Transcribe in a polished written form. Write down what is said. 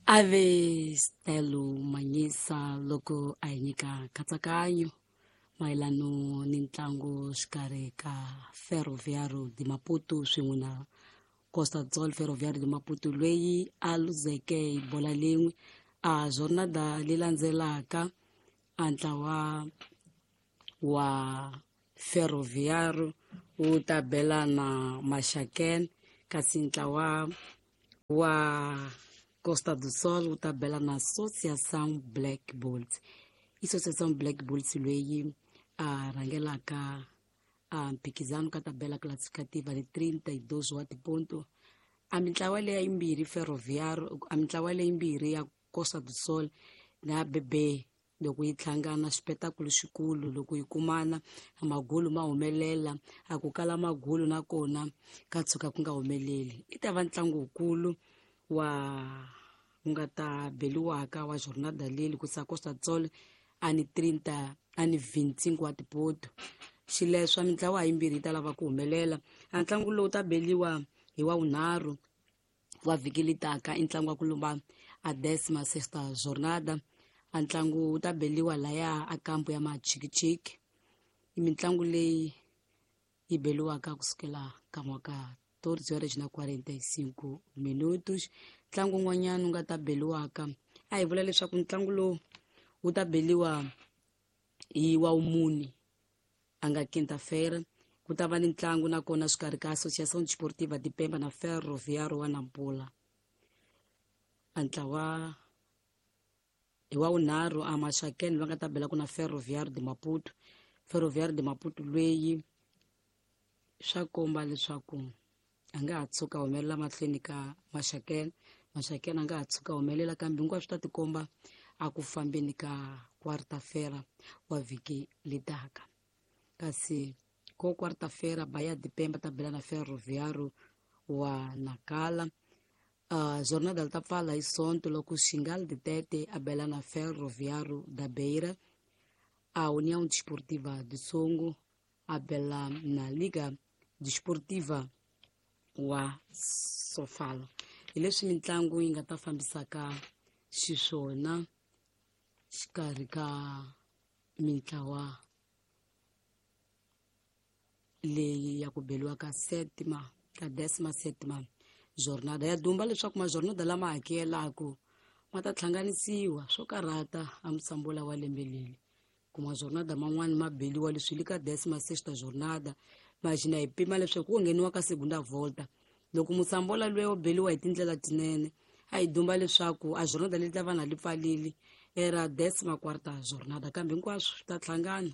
Ave Stelo Manyisa loko a hi nyika nkatsakanyo mayelano ni ntlangu xikarhi ka Ferroviário de Maputo swin'we na Costa do Sol. Ferroviário de Maputo loyi a luzeke hi bola lin'we a jornada leyi landzelaka, a ntlawa wa Ferroviário wu ta bela na Maxaken, kasi ntlawa wa Costa do Sol wu ta bela na Associação Black Bulls. I Associação Black Bulls loyi a rhangelaka a mphikizano ka tabela classificativa ni 32 wa tiponto. A mintlawa leya yimbirhi Ferroviário, a mintlawa leyimbirhi ya Costa do Sol na BB, loko yi hlangana xipetakulu xikulu, loko yi kumana magulu ma humelela, a ku kala magulu nakona ka tshuka ku nga humeleli. I ta va ntlangu wukulu wa wu nga ta beliwaka wa jornada leli ku sa Costa do Sol a ni 30 a ni 25 wa tipoto. Xileswa mintlawa yimbirhi yi ta lava ku humelela. A ntlangu lowu ta beliwa hi wa vunharhu wa vhiki litaka, i ntlangu wa ku lumba a décima sexta jornada. A ntlangu wu ta beliwa laya a kampu ya Machikichiki. I mitlangu leyi yi beliwaka kusukela ka mwaka 14 horas na 45 minutos. Ntlangu wun'wanyana wu nga ta beliwaka, a hi vula leswaku ntlangu lowu wu ta beliwa hi wa wumune, a nga quinta-feira, ku ta va ni ntlangu nakona xikarhi ka Associação Desportiva de Pemba na Ferroviário wa Nampula. A ntlawa hi wa vunharhu a Maxakeni va nga ta belaka na Ferroviário de Maputo. Ferroviário de Maputo loyi swa komba leswaku a nga ha tshuka humelela mahlweni ka Maxakeni, Maxakeni a nga ha tshuka humelela, kambe hinkwaswo swi ta tikomba a ku fambeni ka quarta-feira wa vhiki letaka. Kasi ko quarta-feira Bahia de Pemba ta bela na Ferroviário wa Nacala. Jornada ta pfala hi Sonto loko Xingal de Tete a bela na Ferroviário da Beira, a União Desportiva de Songo a bela na Liga Desportiva wa Sofala. Hi leswi mitlangu yi nga ta fambisaka xiswona xikarhi ka mintlawa leyi ya ku beliwa ka sétima ka décima sétima jornada. Ya dumba leswaku majornada lama hakelaku ma ta hlanganisiwa swo karhata a musambola wa lembe leri ku majornada man'wani ma beliwa leswi li ka décima sexta jornada. Maxina hi pima leswaku ku ngheniwa ka segunda volta loko musambola loyi wo beliwa hi tindlela tinene, a hi dumba leswaku a jornada leyi ta va na li pfalili era décima quarta jornada, kambe hinkwaswo swi ta hlangana.